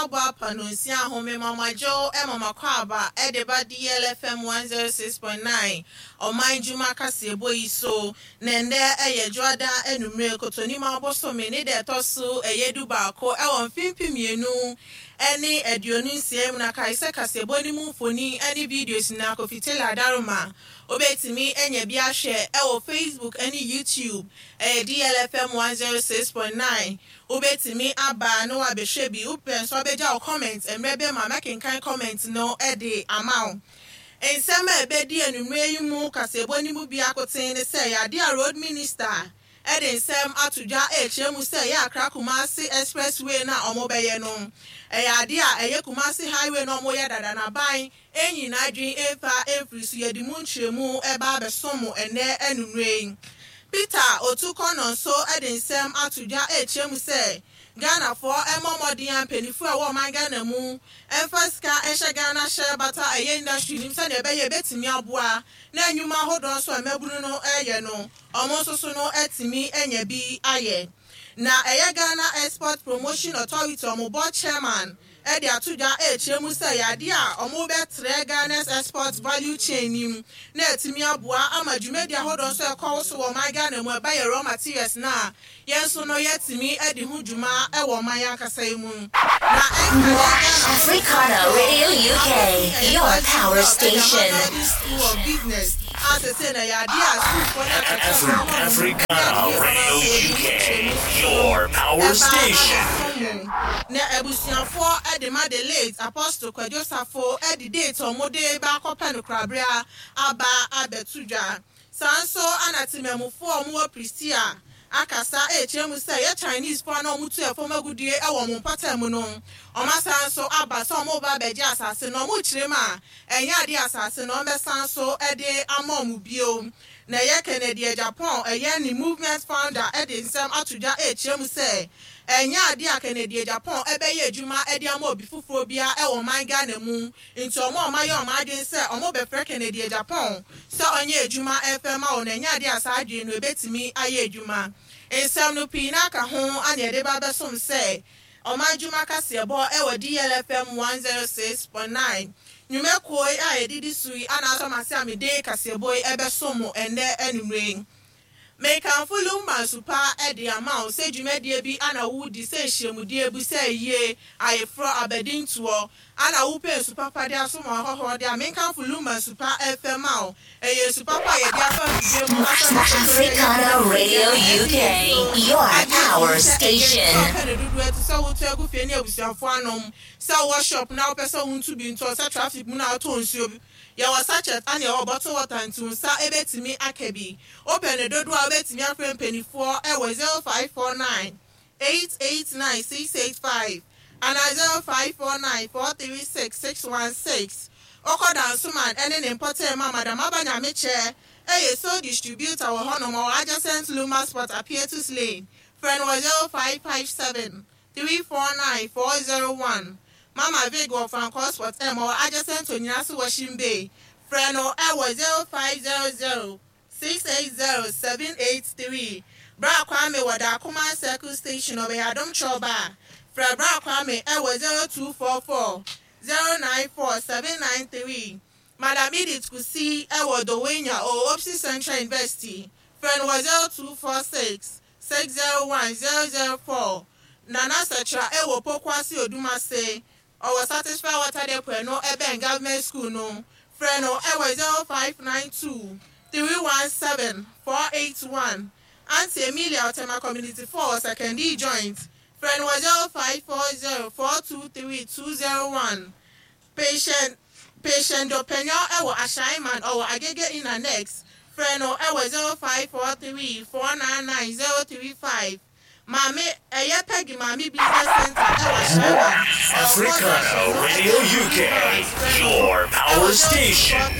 Abɔ apa nonsia ahome mama dwo mama kwaaba de ba DLFM 106.9 ɔman dwuma kaseɛbɔ yi so. Na ɛnnɛ yɛ Dwoada anwummere, Kotonim abosome ne da ɛtɔ so ɛyɛ 11 wɔ mfe 2026 mu. Na kae sɛ kaseɛbɔ no mu mfoni ne videos nyinaa Kofi Taylor Adaroma wobɛtumi anya bi ahwɛ wɔ Facebook ne YouTube, ɛyɛ DLFM 106.9. Wobɛtumi aba na wabɛhwɛ bi, wopɛ nso abɛgya wo comment mmerɛ bɛ ma mɛkenkan comment no de ama wo. Nsɛm a ɛbɛdi anwummerɛ yi mu kaseɛbɔ no mu biako ten ne sɛ yɛade a Road Minister de nsɛm ato dwa ɛrekyerɛ mu sɛ ɛyɛ Accra Kumasi Expressway no a wɔbɛyɛ no, ɛyɛ adeɛ a ɛyɛ Kumasi Highway no a wɔyɛ dada no aban nyi n'adwene mfa mfiri so. Yɛde mu nkyerɛmu ba abɛsom mo ɛnnɛ anwummerɛ yi. Peter Otu-Connor nso de nsɛm ato dwa rekyerɛ mu sɛ Ghanafoɔ mmɔ mmɔden a mpaninfoɔ a ɛwɔ ɔman Ghana mu mfa sika nhyɛ Ghana Shea Butter ɛyɛ industry no mu sɛdeɛ ɛbɛyɛ ɛbɛtumi aboa na nnwuma ahodoɔ nso a mmabunu no reyɛ no wɔn nso so no atumi anya bi ayɛ. Na ɛyɛ Ghana Export Promotion Authority wɔn board chairman de ato dwa rekyerɛ mu sɛ ɛyɛ adeɛ a wɔrebɛtrɛ Ghana's export value chain no mu na atumi aboa ama dwumadi ahodoɔ nso a ɛkɔ so wɔ ɔman Ghana mu ɛba yɛ raw materials no a yɛn nso no yɛatumi adi ho dwuma wɔ ɔman yɛn ankasa yi mu na ɛnka yɛn Ghanafoɔ Africana Radio UK, your power station. School of Business a sese na ɛyɛ adeɛ a sukuufoɔ ne akyerɛkyerɛfoɔ ma wɔn Africana Radio UK, your power station. Na abusuafoɔ de ma the late Apostle Kwadwo Safo de date a wɔde ba akɔpɛ no korabea aba abɛto dwa. Saa nso na Temamufoɔ a wɔwɔ Prestea akasa rekyerɛ mu sɛ ɛyɛ Chinesefoɔ a na wɔtu ɛfam agudie wɔ wɔn mpɔtam mu no, wɔasan nso aba sɛ wɔreba abɛgye asase no. Wɔrekyerɛ mu a, ɛnyɛ adeɛ a asase no wɔbɛsan nso de ama wɔn bio. Na ɛyɛ Kennedy Agyapong, ɛyɛ ne movement founder de nsɛm ato dwa rekyerɛ mu sɛ ɛnyɛ adeɛ a Kennedy Agyapong bɛyɛ adwuma de ama obi foforɔ biara wɔ ɔman Ghana mu, nti wɔn a wɔayɛ wɔn adwene sɛ wɔbɛfrɛ Kennedy Agyapong sɛ ɔnyɛ adwuma mfa mma wɔn no, ɛnyɛ adeɛ a saa adwene no ɛbɛtumi ayɛ adwuma. Nsɛm no pii no aka ho na yɛde ba bɛsom sɛ Ɔman Dwuma Kaseɛbɔ wɔ DLFM 106.9. Nnwumakuo yi a yɛdidi so yi ana asɔ m'ase a mede kaseɛbɔ yi ɛbɛsom mo ɛnnɛ anwummerɛ yi. Mekamfo Lumba Nsupa de ama wo sɛ dwumadie bi ana woredi sɛ nhyiamudie bi sɛ ayie, ayeforɔ, abadintoɔ, ana wopɛ nsu papa de asom w'ahɔhoɔ de a, menkamfo Lumba Nsupa mfɛ ma wo. Ɛyɛ nsu papa a yɛde afa mfidie mu afa ne kɔtɔ ne ɛyɛ Africana Radio UK, your power station. Sɛ wopɛ no dodoɔ ɛte sɛ wotɔ agu fie ne abusuafoɔ anom, sɛ wowɔ shop na wopɛ sɛ wontu bi ntɔ, sɛ traffic mu na wotɔ nsuo bi. Yɛwɔ sachet ane yɛwɔ bottle water nti wo nsa bɛtumi aka bi. Wopɛ no dodoɔ a wobɛtumi afrɛ mpaninfoɔ wɔ 0549 889 685 anaa 0549 436 616. Wokɔ Dansoman ne ne mpɔtam a, Madam Aba Nyamekyɛ yɛ sole distributor wɔ hɔnom. Ɔwɔ adjacent Luma Spot, Apietus Lane. Frɛ no wɔ 0557 349 401. Mama Vig wɔ Frankor Spot M, ɔwɔ adjacent Onyinase Washing Bay. Frɛ no wɔ 0500 680 783. Bra Kwame wɔ Dakoman Circle Station, ɔbɛyɛ Adom Kyerɛwba. Frɛ Bra Kwame wɔ 0244 094 793. Madam Edith Kusi wɔ Dowenya ɔwɔ Opsi Central University. Frɛ no wɔ 0246 601 004. Nana Sɛkyerɛ wɔ Pokuase Odumase, ɔwɔ Satisfy Water Depot no ɛbɛn Government School no. Frɛ no wɔ 0592 317 481. Auntie Emilia Otema Community 4 wɔ Sekondi Joint. Frɛ no wɔ 0540 423 201. Patient Dɔpɛnyo wɔ Ashaiman, ɔwɔ Agege Inn Annex. Frɛ no wɔ 0543 499 035. Maame ɛyɛ Peggy Maame Business Center wɔ Ashaiman. Africana Radio UK, your power station.